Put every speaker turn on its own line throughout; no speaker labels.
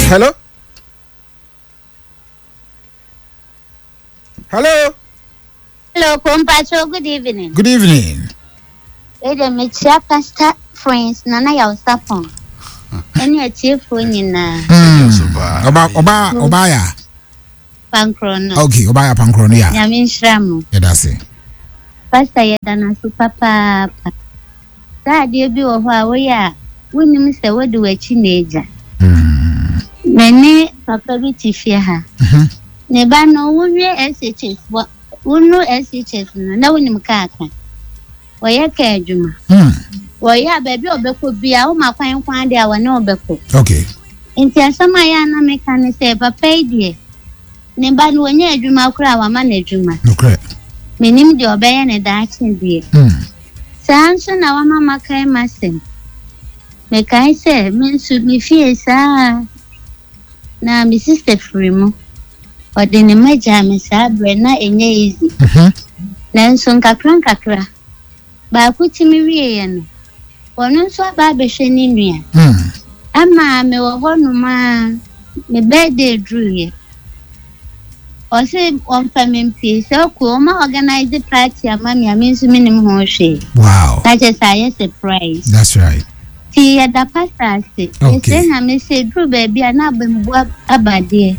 Hello. Hello.
Hello, Compacho. Good evening.
Good evening.
Wei mekyia Pastor Friends Nana Yawsapɔn ɛne atiefoɔ nyinaa.
Ɔba ɔba ɔba ya.
Pankorɔ no.
Okay, ɔba ya pankorɔ no ya.
Nyame nhyira mo.
Yɛda ase.
Pastor yɛda no ase papaapa. Saa adeɛ bi wɔ hɔ a woyɛ a wonim sɛ wode w'akyi na agya. Me ne papa bi te fie ha. Ne ba no wowie SHS wonu SHS no na wonim kaa ka. Wɔyɛ kaa adwuma. Wɔyɛ a baabi a ɔbɛkɔ bia woma kwan kwan deɛ a wɔne wobɛkɔ.
Okay.
Nti asɛm a yɛ a na meka ne sɛ papa yi deɛ ne ba no wɔnyɛ adwuma koraa wama no adwuma.
Nokorɛ.
Menim deɛ ɔbɛyɛ ne daakye deɛ. Saa nso na wama makae m'asɛm. Mekae sɛ me nso me fie saa na me sister firi mu. Ɔde ne mma gyaa me saa berɛ na ɛnyɛ easy. Nanso nkakra nkakra baako tumi wieɛ no, ɔno nso aba abɛhwɛ ne nua. Ama mewɔ hɔnom a me birthday duruiɛ. Ɔse ɔmfa me mpue sɛ ɔkɔ ɔma organize party ama me a me nso menim ho hwee.
Wow.
Na kyerɛ sɛ ayɛ surprise.
That's right.
Nti yɛda pastor ase.
Okay.
Yɛsrɛ Nyame sɛ ɛduru baabi a na abambu aba deɛ.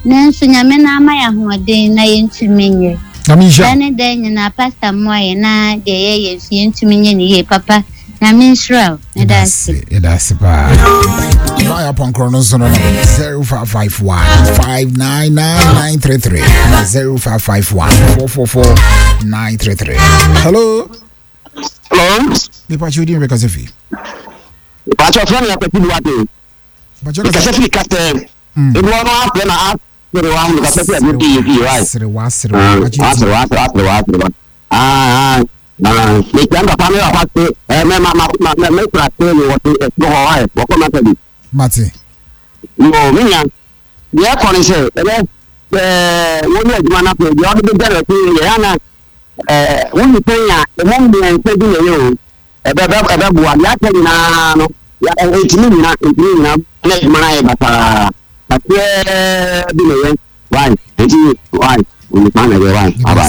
Nanso Nyame no ama yɛ ahoɔden na yɛntumi nyɛ.
Nyame nhyira.
Da ne da nyinaa pastor mmoa yɛn na deɛ yɛyɛ nso yɛntumi nyɛ ne yie papa. Nyame nhyira wo. Meda ase.
Yɛda ase paa. Báyà pɔnkorɔ no nso no no 0551 599933 0551 444 933. Hello.
Hello.
Nipa kyi odi mbɛ kasa fi.
Pàṣẹ fún mi akpẹ̀tì buwate. Kasa fi kasa. Ebi wọn afẹ na asere wa mu kasa fi adi ti yɛ fi wa.
Asere wa asere wa.
Asere wa asere wa asere wa. Aa aa mekyia papa mi papa se ɛ mɛ ma ma ma mɛ mɛ kura se mi wɔ se ɛsoro hɔ wa yɛ wɔkɔ ma sɛ bi.
Mate.
Yoo mi nya deɛ ɛkɔ ne sɛ ɛbɛ ɛɛ wɔn yɛ adwuma n'afɛ deɛ ɔde bɛ gya n'akyi yɛ yɛ ana ɛɛ wɔn nipa nya ɛmɔ mmiɛnsa bi na ɛyɛ o ɛbɛ bɛ ɛbɛ boa deɛ aka nyinaa no yɛ ɛntumi nyina ɛntumi nyina na adwuma no ayɛ basaa kakraa bi na ɛyɛ why nti why onipa na ɛyɛ why aba.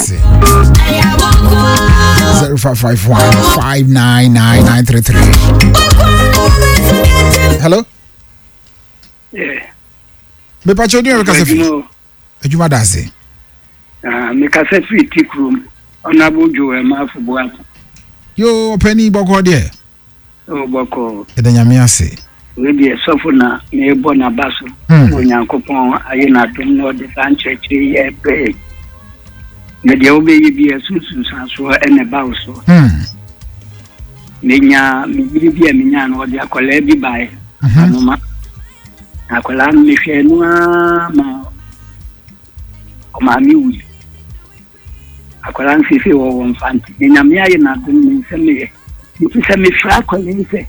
0551 599933. Hello?
Yeah.
Mepa kyɛw din kasa fi. Adwuma da ase.
Ah, me kasa fi ti kurom. Honorable Joel Mafo Boako.
Yo, ɔpɛni bɔkɔ deɛ.
O bɔkɔ.
Ɛda Nyame ase.
Wei deɛ sɔfo na merebɔ n'aba so. Onyankopɔn ayɛ n'adom na ɔde saa nkyerɛkyerɛ yi ɛbrɛ yɛn. Na deɛ wobɛyɛ bi ɛso nsunsuansoɔ ɛna ɛba wo so. Menya me yere bi a menya no ɔde akwadaa bi baeɛ. Anoma. Na akwadaa no mehwɛɛ no ara ma ɔmaame wui. Akwadaa no seesei wɔwɔ mfa nti na Nyame ayɛ n'adom ne nsɛm yɛ. Nti sɛ mefrɛ akwadaa yi sɛ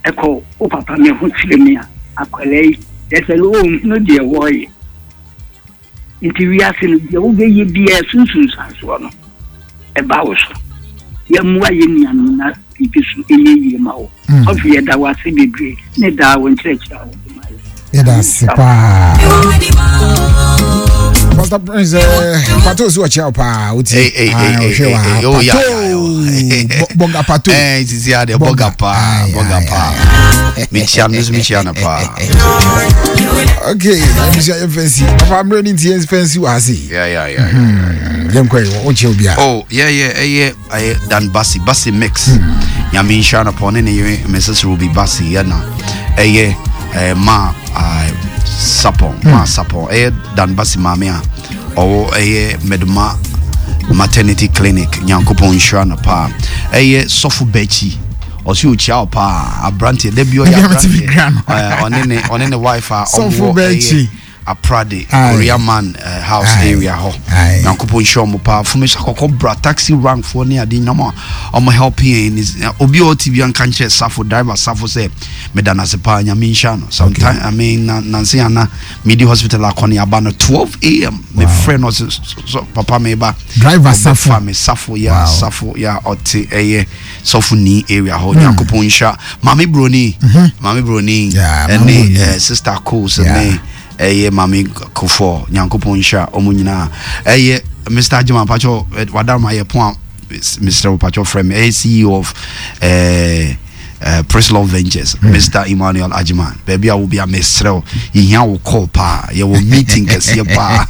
ɛkɔ wo papa me ho kyerɛ me a akwadaa yi kyerɛ sɛ ɔnhunu deɛ wɔreyɛ. Nti wiase no deɛ wobɛyɛ biara ɛso nsunsuansoɔ no ɛba wo so. Yɛmmoa yɛn nuanom na biribi so ɛnyɛ yie ma wo. Sɔfo yɛda wo ase bebree ne daa wo nkyerɛkyerɛ a wode ma yɛ.
Yɛda ase paa. Pastor Prince, Pato si ɔkyerɛ wo paa wotie. Ɔhwɛ wa Pato bɔga Pato.
Sisi adeɛ bɔga paa bɔga paa. Mekyia no nso mekyia no paa.
Okay, abusua yɛn fɛnsi. Papa mmerɛ ni nti yɛn fɛnsi wɔ ha sei.
Yeah, yeah, yeah.
Yɛn kɔ yi wɔn kyerɛ obi a.
Oh, yeah, yeah, ɛyɛ ɛyɛ Dan Basi Basi mix. Nyame nhyira no pɔ ne ne yere Mrs. Ruby Basi yɛ na ɛyɛ ɛɛ ma sapɔn ma sapɔn ɛyɛ Dan Basi maame a ɔwɔ ɛyɛ Meduma maternity clinic Nyankopɔn nhyira no paa ɛyɛ sɔfo bɛkyi ɔsi okyia wo paa aberanteɛ da bi ɔyɛ aberanteɛ ɔne ne ɔne ne wife a ɔwɔ ɛyɛ. Aprade Korea man uh, house Aye. area hɔ. Nyankopɔn nhyira ɔmo paa. Fumi so akɔkɔ bra taxi rank foɔ ne ade nyinam a ɔmo help yɛn ne obi a ɔte bi anka nkyerɛ Safo driver Safo sɛ meda no ase paa Nyame nhyira no. Sometime okay. I mean na nanse ana medi hospital akɔ ne aba no 12 am me frɛ no ɔse so papa me ba.
Driver Safo.
Me Safo ya wow. Safo ya ɔte ɛyɛ sɔfo ni area hɔ. Nyankopɔn nhyira Maame Broni, Maame Broni, ɛne eh, Sister Coles ne ɛyɛ Maame Kofoɔ. Nyankopɔn nhyira ɔmo nyinaa. Ɛyɛ Mr. Agyeman Pacho, eh, wadaroma yɛ pon a mesrɛ wo Pacho frɛ me. Ɛyɛ CEO of eh, Praise Love Ventures, Mr. Emmanuel Agyeman. Baabi a wo bia mesrɛ wo, yɛhia wo call paa. Yɛwɔ meeting kɛseɛ paa.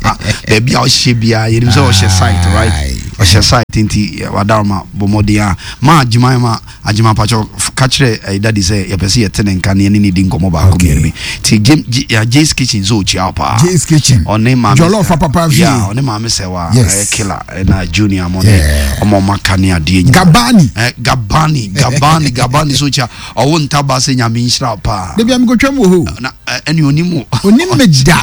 Baabi a ɔhyɛ biara, yɛnim sɛ ɔhyɛ site, right? Ɔhyɛ site nti wadaroma bɔ mmɔden a ma Agyeman ma Agyema pakyɛw ka kyerɛ ɛyi daddy sɛ yɛpɛ sɛ yɛte ne nka na yɛne ne di nkɔmmɔ baako mmienu bi. Ti James ya Jay's kitchen sɛ okyia wo paa.
Jay's kitchen.
Ɔne maame.
Jollof papa fie.
Yeah, ɔne maame sɛ wa. Yes. Ɛyɛ killer ɛna junior mo ne ɔmo ɔmo aka ne adeɛ nyinaa.
Gabani.
Eh, Gabani, Gabani, Gabani so okyia. Ɔwo ntaba sɛ nyame nhyira wo paa.
Debi amikotwam wɔ hɔ.
Na ɛne onim wo.
Onim me da.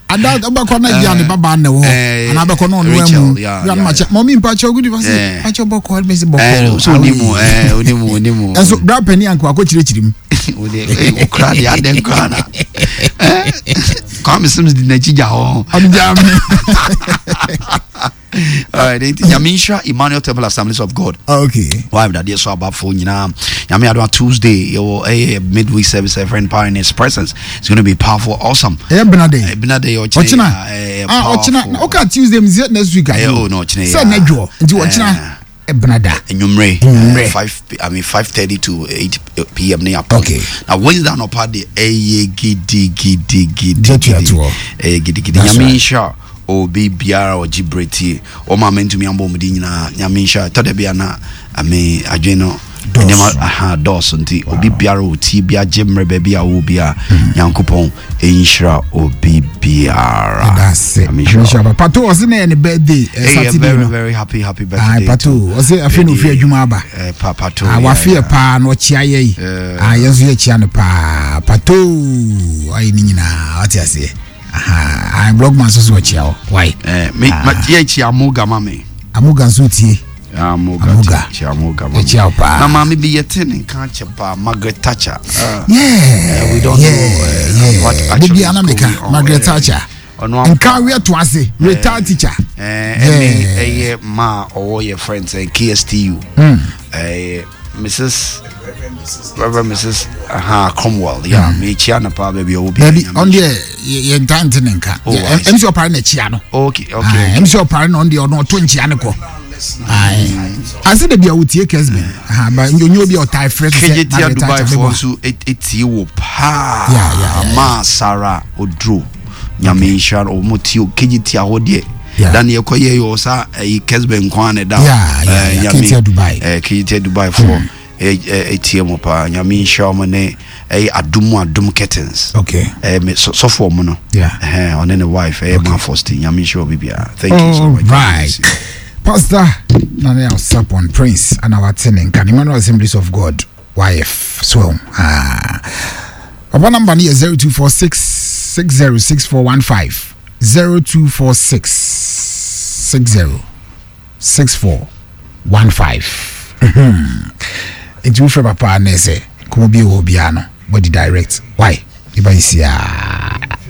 Ada ɔbɛkɔ na yia ne ba baa na ɛwɔ hɔ anaa bɛkɔ na ɔno amu yia no makyɛ mɔmi mpakyɛ ogu di ba se mpakyɛ bɔkɔ ɛmi se bɔkɔ
so onimu ɛɛ onimu onimu
ɛnso bra panyin anko akɔ kyerɛkyerɛ mu
okura de adɛ nkura na Kwame Sims di n'akyi gya hɔ
ɔde gya mi.
Alright, nti Nyame nhyira Emmanuel Temple Assemblies of God.
Oh, okay.
Why dadeɛ so abafo nyinaa. Nyame adom Tuesday yɛwɔ ɛyɛ midweek service a friend power in his presence. It's going to be powerful, awesome.
Ɛyɛ bena day.
Bena day
ɔkyena. Ɔkyena. Ah, ɔkyena. Na ɔka Tuesday mi sɛ next week.
Ɛyɛ oh no ɔkyena.
Sɛ na dwo. Nti ɔkyena. Ebena da.
Enyumre.
Enyumre.
5 I mean 5:30 to 8 pm ne apɔ.
Okay.
Na Wednesday anɔpa de ɛyɛ gidi gidi gidi. Ɛyɛ gidi gidi. Nyame nhyira. Obi biara a ɔgye berɛ tie wɔn a mantumi ambɔ wɔn din nyinaa Nyame nhyira ɛtɔ da bi a na ame adwene no nneɛma aha dɔɔso nti obi biara ɔtie bi agye mmerɛ baabi a ɔwɔ bi a hmm. Nyankopɔn nhyira obi biara
nhyira pato ɔse na yɛ ne birthday eh, Saturday
very, no very happy happy birthday
ah, pato ɔse afei na ofi adwuma aba
eh, pa, pato
ah, wafe yɛ paa na ɔkyea yɛ yi ah, yɛn nso yɛkyea no paa pato ayɛ ne nyinaa ɔte aseɛ Aha, blogman nso so ɔkyia wo. Why?
Eh, me ah. ma yɛ kyia Amoga ma me.
Amoga nso tie.
Amoga. Amoga. Kyia Amoga ma me.
Kyia wo paa.
Na maame bi yɛte ne nka kyɛ paa Margaret Thatcher.
Uh, yeah.
We don't
yeah,
know
yeah.
what actually
is going on. Margaret Thatcher. Nka wiɛ to ase retired teacher.
Ɛne ɛyɛ maa ɔwɔ yɛ friends KSTU. Ɛyɛ Mrs. Reverend Mrs. Aha Cromwell. Yeah, me chia na pa baby obi.
Baby, on the ye ntante ne nka. MC opare na chia no.
Okay, okay.
MC opare na on the ono to nchia ne ko. Ai. Ase de bia wotie Kesben. Aha, ba onye obi otai fresh
se. Kejetia Dubai fo nso etie wo pa.
Yeah, yeah.
Ma Sarah Odro. Nyame nhyira no ɔmo tie Kejetia hɔ deɛ. Da ne yɛkɔ yɛ yɛ ɔsa ɛyi Kesben kwan ne da.
Kejetia Dubai.
Kejetia Dubai fo. Etie mo paa. Nyame nhyira ɔmo ne ɛyɛ adum adum curtains.
Okay.
Ɛyɛ me sɔfo ɔmo no.
Yeah.
Ɛhɛn ɔne ne wife ɛyɛ ma Faustin. Nyame nhyira obi biara. Thank you so much.
Right. Pastor Nana Osapon Prince ana wate ne nka Emmanuel Assemblies of God YF so ah. Papa number no yɛ 0246 606415 0246 60 6415 nti wofrɛ papa na ɛsɛ nkɔmmɔ bi wɔ hɔ biara no body direct why ɛba nsiaa.